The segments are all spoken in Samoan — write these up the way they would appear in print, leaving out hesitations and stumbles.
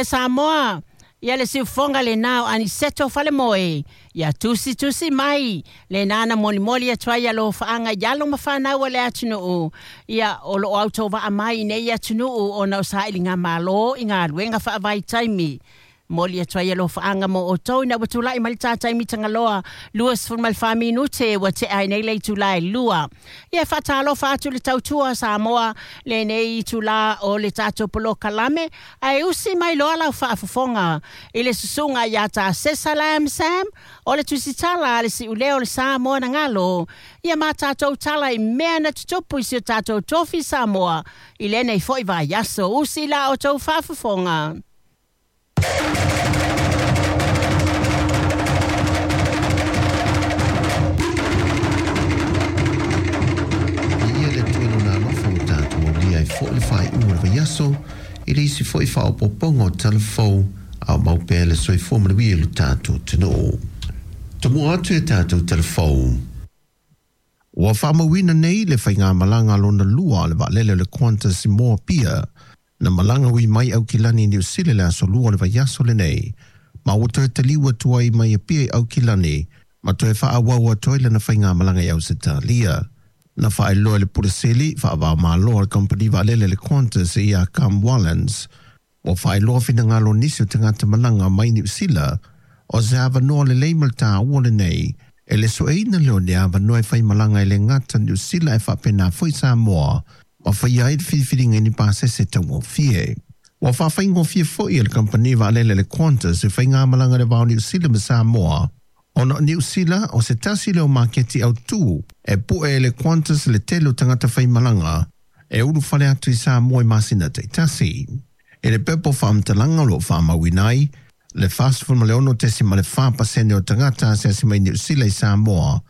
Oe Samoa, ia le siufofoga lena o Aniceto Falemoe, ia tusitusi mai lena na molimoli atu ai alofaaga i alo ma fanau a le atunuu, ia o loo autovaa mai i nei atunuu ona o sailigamalo i galuega faavaitaimi. Momoli atu ai alofaaga mo outou ina ua tulai mai le ta taimi tagaloa 24 minute ua tea ai nei le itula e 2. Ia e faatalofa atu le tautua Samoa lenei itula o le tatou polokalame, ae usi mai loa lau faafofoga i le susuga ia Tasesa Lam Sam o le tusitala a le siuleo o le Samoa na galo, ia ma tatou tala i mea na tutupu i si o tatou tofi Samoa i lenei foi vaiaso. Usi la outou faafofoga. Viia le Atua i Lona alofa ua tatou aulia ai foi le faaiuga o le vaiaso i le isi foi faaopoopoga o tala fou a o mau pea le soifua manuia i lo tatou atunuu. Tomua atu i a tatou tala fou. Ua faamauina nei le faigamalaga lona lua a le vaalele o le Qantas i Moapia na malaga ui mai Aukilani i Niu Sila i le aso Lua o le vaiaso lenei, ma ua toe taliu atu ai mai Apia i Aukilani ma toe faaauau atu ai lana faigamalaga i Ausetalia. Na faailoa e le Pule Sili faava-o-Malo a le kamupani vaalele le Qantas ia Cam Wallens, ua faailoa finagalo o nisi o tagata malaga mai Niu Sila o se avanoa lelei ma le taua lenei e le sueina lea o ni avanoa e faimalaga e le gata Niu Sila e faapena foi Samoa ma faia ai le filifiliga i ni pasese taugofie. Ua faafaigofie foi e le kamupani vaalele le Qantas e faigamalaga i le va o Niu Sila ma Samoa, ona o Niu Sila o se tasi lea o maketi autū e pu'e e le Qantas le tele o tagata faimalaga e ulufale atu i Samoa i masina taitasi. I le pepa o faamatalaga o lo o faamauina ai le 46.4% o tagata asiasi mai Niu Sila i Samoa,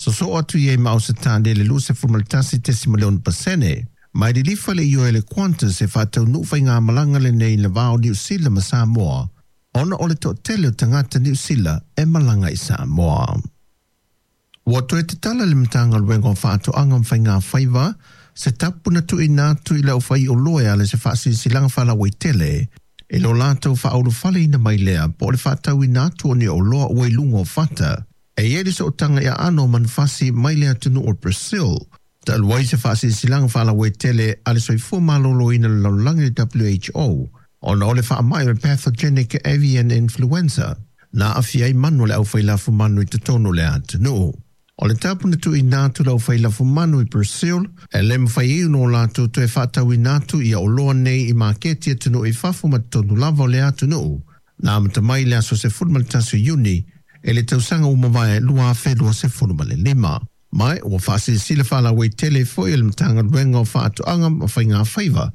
sosoo atu i ai ma Ausetalia i le 21.6%. Ma e lilifa le ioe a le Qantas e faataunuu faigamalaga lenei i le va o Niu Sila ma Samoa, ona o le toatele o tagata Niu Sila e malaga i Samoa. Ua toe tatala le Matagaluega o Faatoaga ma Faigafaiva se tapu na tuuina atu i le aufaioloa e ala i se faasilasilaga faalauaitele i lo latou faaulufaleina mai lea po o le faatauina atu o ni oloa ua i luga o fata e i ai le sootaga i aano o manufasi mai le atunuu o Brazil. Talu ai se faasilasilaga faalauaitele a le Soifua Maloloina o le Lalolagi le WHO ona o le faamai o le Pathogenic Avian Influenza na aafia ai manu a le aufailafumanu i totonu o le atunuu. O le tapu na tuuina atu le aufailafumanu i Brazil e le mafai ai ona o latou toe faatauina atu ia oloa nei i maketi atunuu i fafo ma totonu lava o le atunuu. Na amata mai i le aso 11 o Iuni i le tausaga ua mavae 2025. Ma ua faasilasila faalauaitele foi e le Matagaluega o Faatoaga ma Faigafaiva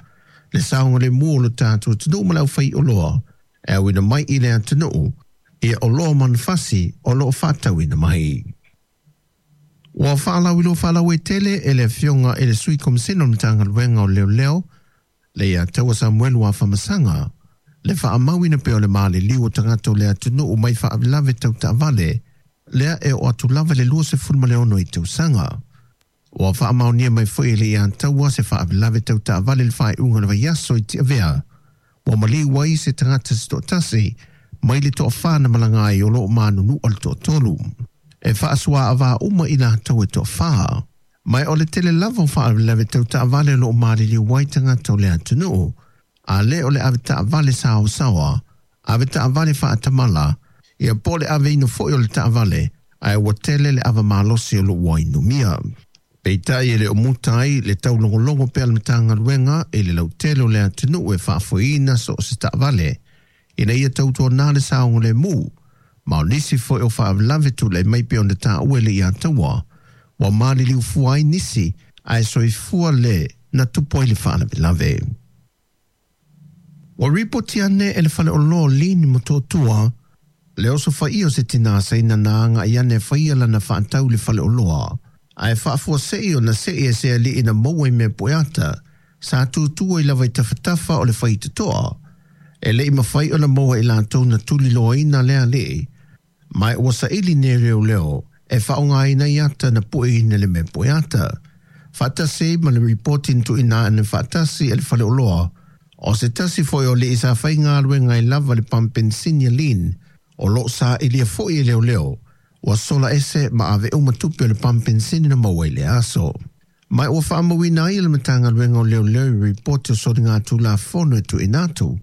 le saogalemu o lo tatou atunuu ma le aufaioloa e auina mai i le atunuu ia oloa manufasi o lo o faatauina mai. Ua faalauiloa faalauaitele e le Afioga i le Sui Komisena o le Matagaluega o Leoleo, le Iataua Samuelu Afamasaga, le faamauina pea o le maliliu o tagata o le atunuu mai faalavelave tau taavale, lea e oo atu lava i le 26 i tausaga. Ua faamaonia mai foi e le Iataua se faalavelave tau taavale i le faaiuga o le vaiaso i Tiavea, ua maliu ai se tagata se toatasi mai le toafa na malaga ai o lo o manunua le toatolu. E faasuaavā uma i latou e toafa. Ma o le tele lava o faalavelave tau taavale o lo o maliliu ai tagata o le atunuu, a le o le ave taavale saosaoa, ave taavale faatamala, ia po o le aveina foi o le taavale, ae ua tele le ava malosi o lo o ua inumia. Peitai e le o muta ai le taulogologo pea a le Matagaluega i le lautele o le atunuu e faafoeina so o se taavale ina ia tautuana le saogalemu, ma o nisi foi o faalavelave tulai mai pei ona taua e le Iataua, ua maliliu fua ai nisi ae soifua le na tupu ai le faalavelave. Ua ripoti ane e le faleoloa o Lin i Motootua le osofaia o se tinā Saina na agai ane e faia lana faatau i le faleoloa, ae faafuasei ona sei e se alii na maua i mea pueata sa tutu ai lava i tafatafa o le faitotoa. E le i mafai ona maua e latou na tuliloaina lea alii, ma ua saili nei leoleo e faaaogaina ai ata na pueina i le mea pueata. Faatasi ai ma le ripoti na tuuina ane faatasi e le faleoloa O se tasi fo'i o li'i sa faigaluega ai lava le pamu penisini a Lean o lo'o sa'ilia fo'i e leoleo ua sola ese ma ave uma tupe o le pamu penisini na maua i le aso. Ma ua faamauina ai e le Matagaluega o Leoleo i ripoti o soligatulafono e tuuina atu.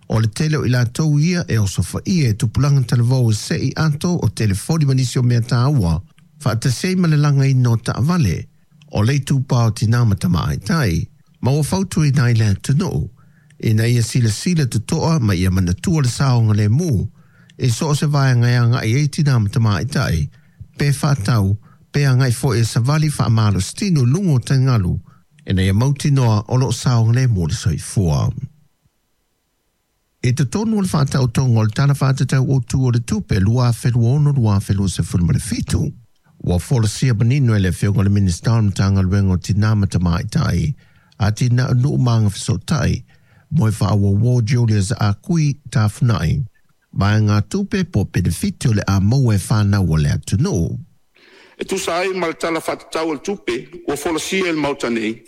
O le tele o i latou ia e osofaia e tupulaga talavou e se'i ato o telefoni ma nisi o mea tāua, faatasi ai ma le lagaina o taavale, o le itupa o tinā ma tamaitai, ma ua fautuaina ai le atunuu, ina ia silasila totoa ma ia manatua le saogalemu i so o se vaega e agai ai tinā ma tamaitai, pe faatau, pe agai foi e savali faamalositino i luga o taligalu, ina ia mautinoa o loo saogalemu le soifua. I totonu o le faataotoga o le Tala Faatatau Autu o le Tupe 2026/2027, ua folasia manino e le Afioga i le Minisita o le Matagaluega o Tinā ma Tamaitai, Atinae o Nuu ma Agafesootai, Moefaauouo Julius Ah Quee Tafuna'i, vaegatupe po o penefiti o le a maua e fanau a le atunuu. E tusa ai ma le Tala Faatatau o le Tupe ua folasia i le Maota nei,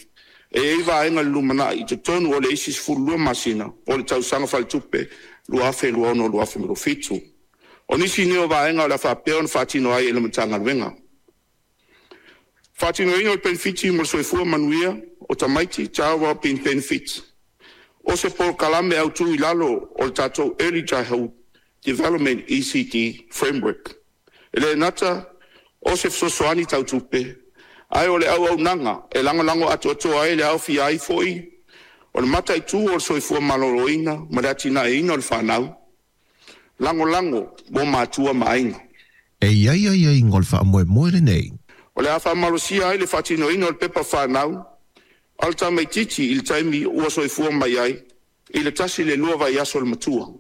e i ai vaega i le lumanai i totonu o le isi 12 masina o le tausaga faaletupe 2026/2027. O nisi nei o vaega o le a faapea ona faatino ai e le Matagaluega. Faatinoina o le penefiti mo le soifua manuia o tamaiti, Child Wellbeing Benefit. O se polokalame autu i lalo o le tatou Early Childhood Development, ECD Framework. E le gata o se fesoasoani tau tupe, ae o le auaunaga e lagolago atoatoa ai le aofia ai foi o le mataitu o le soifua maloloina ma le atinaeina o le fanau, lagolago mo matua ma aiga. E i ai aiaiga o le faamoemoe lenei. O le a faamalosia ai le faatinoina o le pepa fanau a le tamaitiiti i le taimi ua soifua mai ai i le 1 i le 2 vaiaso o le matua,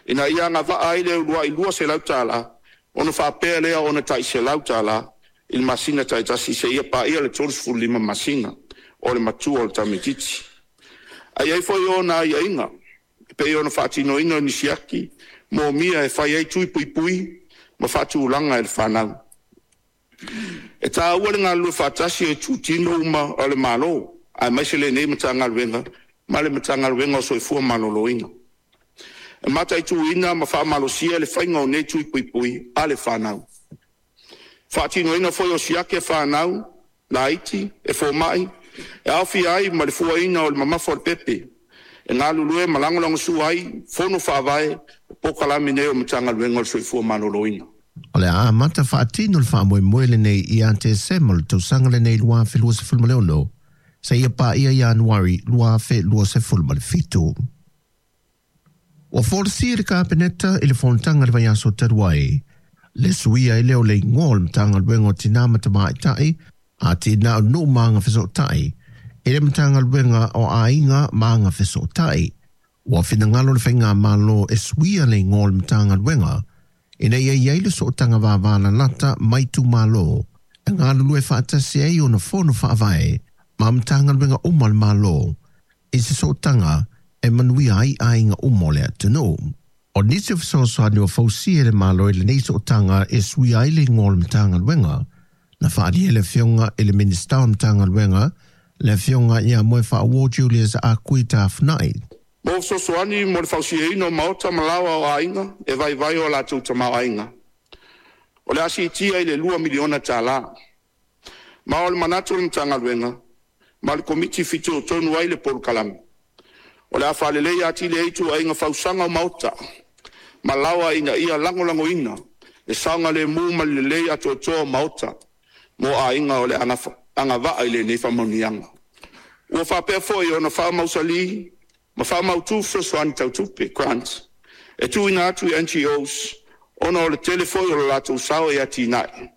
ina ia agava'a ai le ulua'i $200 ona faapea lea ona ta'i $100 i le masina ta'itasi seia paia le 35 masina o le matua o le tamaitiiti. Ae i ai foi ona aiaiga e pei ona faatinoina o ni siaki momia e fai ai tui puipui ma faatulaga e le fanau. E taua le galulue faatasi o itutino uma o le Malo aemaise lenei Matagaluega ma le Matagaluega o Soifua Maloloina e mataituina ma faamalosia le faiga o nei tui puipui a le fanau. Faatinoina foi o siaki a fanau laiti e fomai e aofia ai ma le fuaina o le mamafa o le pepe e galulue ma lagolagosua ai fono faavae o polokalame nei o Matagaluega o le Soifua Maloloina. O le a amata faatino le faamoemoe lenei ia Tesema o le tausaga lenei 2026 seia paia Ianuari 2027. Ua folasia e le Kapeneta i le fonotaga i le vaiaso talu ai le suia ai lea o le igoa o le Matagaluega o Tinā ma Tamaitai, Atinae o Nuu ma Agafesootai i le Matagaluega o Aiga ma Agafesootai. Ua finagalo le Faigamalo e suia le igoa o le Matagaluega ina ia i ai le sootaga vavalalata ma itumalo e galulue faatasi ai ona fono faavae ma Matagaluega uma a le Malo i se sootaga e manuia ai aiga uma o le atunuu. O nisi o fesoasoani ua fausia e le Malo i lenei sootaga e suia ai le igoa o le Matagaluega, na faaalia e le Afioga i le Minisita o le Matagaluega, le Afioga ia Moefaauouo Julius Ah Quee Tafuna'i. Mo fesoasoani mo le fausiaina o maota ma laoa o aiga e vaivai o latou tamaoaiga, o le a siitia i le $2 miliona. Ma o le manatu o le Matagaluega ma le Komiti fitoitonu ai le polokalame, o le a faaleleia atili ai ituaiga fausaga o maota ma laoa ina ia lagolagoina le saogalemu ma le lelei atoatoa o maota mo aiga o le agava'a i lenei faamanuiaga. Ua faapea foi ona faamausali ma faamautu fesoasoani tau tupe, grant, e tuuina atu i NGOs ona o le tele foi o le latou sao i atinae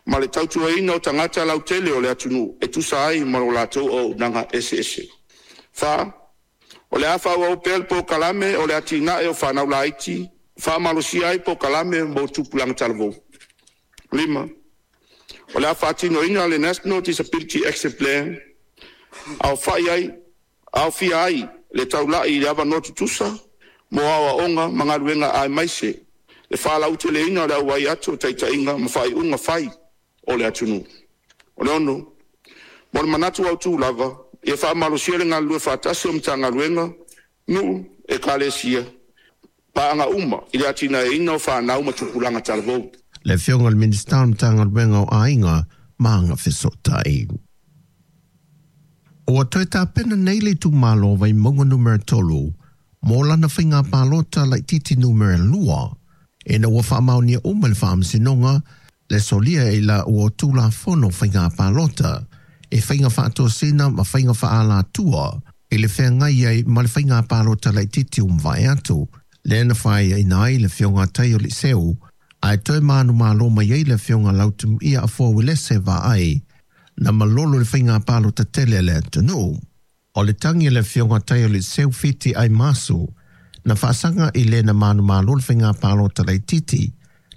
ma le tautuaina o tagata lautele o le atunuu e tusa ai ma lo latou auaunaga eseese. 4. O le a faaauau pea le polokalame o le atinae o fanau laiti, faamalosia ai polokalame mo tupulaga talavou. 5. O le a faatinoina le National Disability Action Plan, aofia ai le taula'i i le avanoa tutusa mo aoaoga ma galuega aemaise le faalauteleina o le auai atu o taitaiga ma faaiuga fai o le atunuu. O le 6, mo le manatu autu lava, Ia faamalosia le galulue faatasi o Matagaluega, nuu, ekalesia, paaga uma i le atinaeina o fanau ma tupulaga talavou. Le Afioga i le Minisita o le Matagaluega o Aiga ma Agafesootai. Ua toe tapena nei le itumalo o Vaimauga numera 3 mo lana faiga palota laitiiti numera 2, ina ua faamaonia uma e le Faamasinoga le solia i la ua Tulafono Faiga Palota e faiga faatosina ma faiga faaalatua i le feagai ai ma le faiga palota laitiiti ua mavae atu, lea na faiaina ai le Afioga a Taioli'iseu ae toe manumalo mai ai le Afioga Lautimuia Afoa Uelese Vaai na malolo i le faiga palota tele a le atunuu. O le tagi a le Afioga Taioli'iseu Fiti Aimasu na faasaga i le na manumalo i le faiga palota laitiiti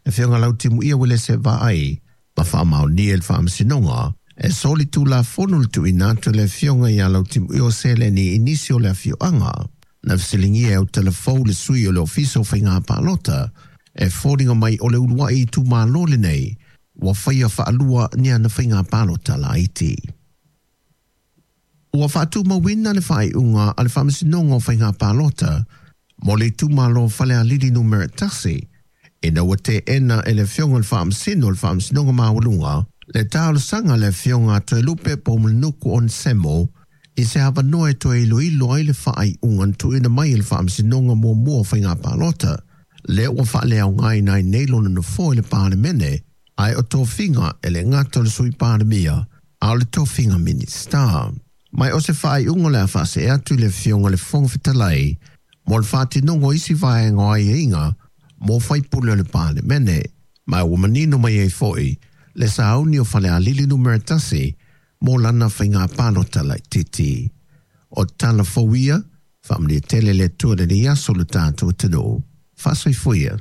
le Afioga Lautimuia Uelese Vaai ma faamaonia e le Faamasinoga e soli tulafono le tuuina atu e le Afioga ia Lautimuia o seleni i nisi o le afioaga. Na fesiligia e Autalafou le sui o le Ofisa o Faiga Palota e foliga mai o le uluai itumalo lenei ua faia faalua ni ana faiga palota laiti. Ua faatumauina le faaiuga a le Faamasinoga o Faiga Palota mo le itumalo Falealili numera 1, ina ua teena e le Afioga i le Faamasino o le Faamasinoga Maualuga le talosaga a le Afioga a Toelupe Poumulinuku Onesemo i se avanoa e toe iloilo ai le faaiuga na tuuina mai e le Faamasinoga muamua o Faiga Palota, lea ua faaleaogaina ai nei lona nofoa i le Palemene, ae o tofiga e le gata o le Sui Palemia, a o le tofiga Minisita. Mai o se faaiuga o le a faasee atu i le Afioga i le Fofoga Fetalai mo le faatinoga o isi vaega o aiaiga mo faipule o le Palemene, ma ua manino mai ai foi le sauni o Falealili numera 1 mo lana faiga palota laitiiti. O tala fou ia, faamanuia tele le Atua i lenei aso i lo tatou atunuu. Faasoifua ia.